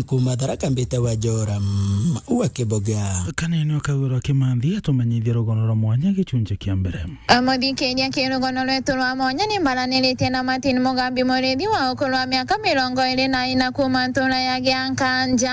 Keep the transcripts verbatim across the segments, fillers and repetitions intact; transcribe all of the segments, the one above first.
Kuma Tharaka mbite wa Joram wa Kiboga. Kanene o Kagwiro Kimanthi atumenyithie rugono rwa mwanya gicunji kia mbere. Amuthikiria ki rugono rwetu rwa mwanya ni mbaraniritie na Martin Mugambi, murithi wa ukuru wa miaka mirongo iri na ina kuma ntura ya Giankanja,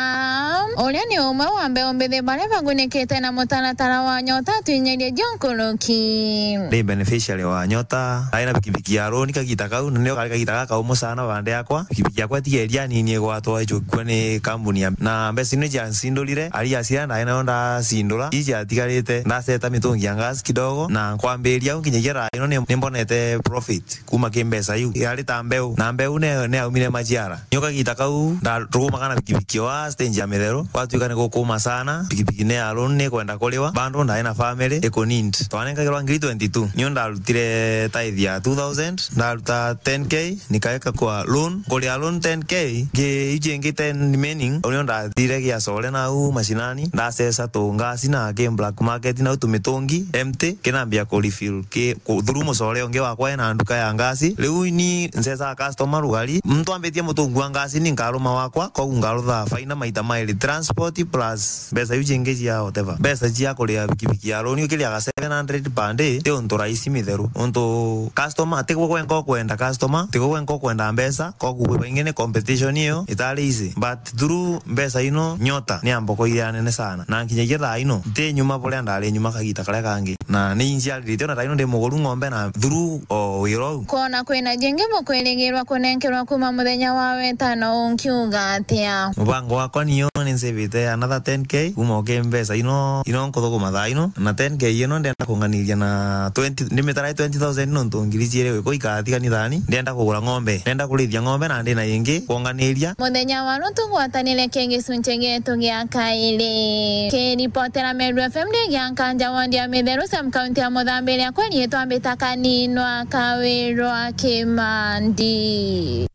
uria ni umwe wa mbeu mbithi baria bagunikite na mutaratara wa Nyota. Twinyirie jio nkuruki. Ndi beneficiary wa Nyota, ndaina pikipiki ya loan kagita kau, na nio kari kagita gaka umu sana bande yakwa. Pikipiki yakwa tigeria nini igwatwa icukua ni kambuni ya, na mbeca ino cia ncindurire, ari acia ndae nayo ndacindura, iji atigarite, ndaceta mitungi ya gas kidogo, na nkwambiria au nginyagia thaa ino ni, ni mbonete profit kuma ki mbeca iu. Yari ta mbeu, na mbeu ne, ne aumire maciara. Nio kagita kau, nda-, tukumaga na pikipiki wa stage ya Mitheru, gwatuika ni gukuma sana, pikipiki ne ya loan ni kwenda kuriwa, bando ndae na family ikunindi. Twanengagirwa ngiri twenty-two, nio ndarutire tithe ya two thousand, ndaruta ten K, nikaeka kwa loan, kuria loan ten K, ngi-, iji ingi ten remaining, unio ndathire Giacore nau macinani, ndacesa tu ngasi na ki black market nau tumitungi empty, kinambia ku refill ki, ku, through mucore ungi wakwa ena nduka ya ngasi. Riu ni ncesa customer rugari, muntu ambitie mutungu wa ngasi ni nkaruma wakwa, kogu ngarutha faina maita mairi, transport plus mbeca iu cingi cia whatever. Mbeca cia kuria pikipiki ya loan ukiriaga seven hundred per day, ti untu rahisi Mitheru. Untu customer, ti gwe gwenka ukwenda customer, ti gwe gwenka ukwenda mbeca, kogu kwi baingi ni competition iyo itari easy. But through mbeca ino, Nyota ni ambokoire anene sana. Na nkinyagia thaa ino, nti nyuma buria ndari nyuma kagita karia kangi. Na ni inciaririte ona thaa ino ndi muguru ng'ombe na through o wira uu. Kwona kwina jingi bukwirigirwa kunenkerwa kuma muthenya wa wetano unkiuga atia? Mubango wakwa nio ni nsivite another ten K kuma uki mbeca ino, ino nkuthukuma thaa ino, na ten K ino ndenda kunganiria na twenty, ndimitara twenty thousand nontu ngiri ciiri wiko ikatigani thani, ndenda kugura ng'ombe, ndenda kurithia ng'ombe na ndina ingi kwonganiria. Muthenya wa rutu gwatanire ki gicunci gietu gia kairi. Kiripotera Meru F M ndi Giankanja ward ya Mitheru sub county ya Muthambiria kweri itwambita Kaninwa Kawirwa Kimandi.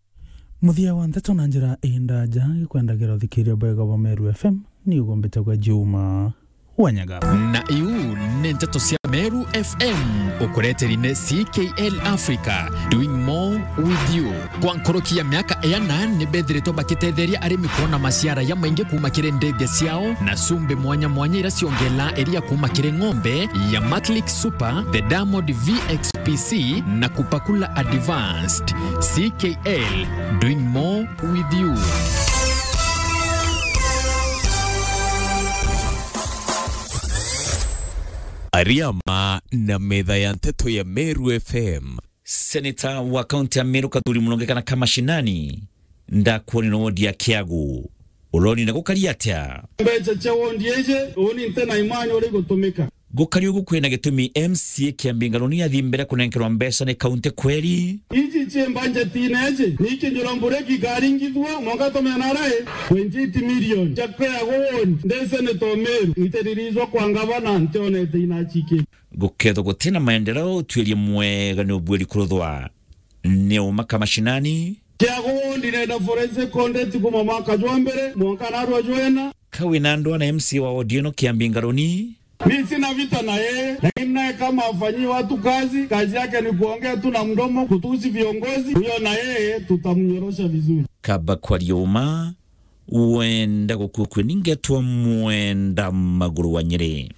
Muthia wa nteto na njira indaja, gikwenda giro thikiria bwega bwa Meru F M, ni ugumbite gwa Juma Wanyaga. Na iu ni nteto cia Meru F M, ukureteri ni C K L Africa, doing more with you. Kwa nkuruki ya miaka iana, ni bethiritwe bakitetheria arimi kwona maciara ya maingi kuma kiri ndege ciao na cumbi mwanya mwanya ira ciongelaa iria kuma kiri ng'ombe ya Matlick Super, the Diamond V X P C na Kupakula Advanced. C K L, doing more with you. Ariama na metha ya nteto ya Meru F M. Seneta wa kaunti ya Meru Kathuri Murungi kana Kamashinani, ndakwoni na wodi ya Kiagu. Uroni na gukari atia? Mbeca cia wondi iji, uni nte na imani uria igutumika. Gukari ugu kwina gitumi M C A kia Mbingaruni athi mbere kunenkerwa mbeca ni kaunti kweri? Iji cie mbanjetine iji, ni ikinjura mbure kikaringithua, mwanka tumena rai, twenty-eight million. Cia Kiagu wondi, ndi seneta o Meru, itiririzwa kwa ngavana, ntionete inachiki. Gukethwa gutina maendeleo, utuiria mwega ni ubuiri kuruthwa. Ni uma Kamashinani. Kiagu wondi nenda forensic audit kuma mwaka jwa mbere, mwanka narua jwena. Ka wina ndwa na M C A wa wodi ino kia Mbingaruni? Mi sina vita na yeye, lakini naye kama afanyii watu kazi, kazi yake ni kuongea tu na mdomo, kutusi viongozi, huyo na yeye tutamnyorosha vizuri. Kaba kwaria uma, wenda gukua kwe ningetwa Mwenda Maguru wa Nyeri.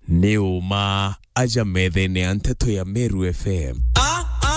Ni uma aja methene ya nteto ya Meru F M.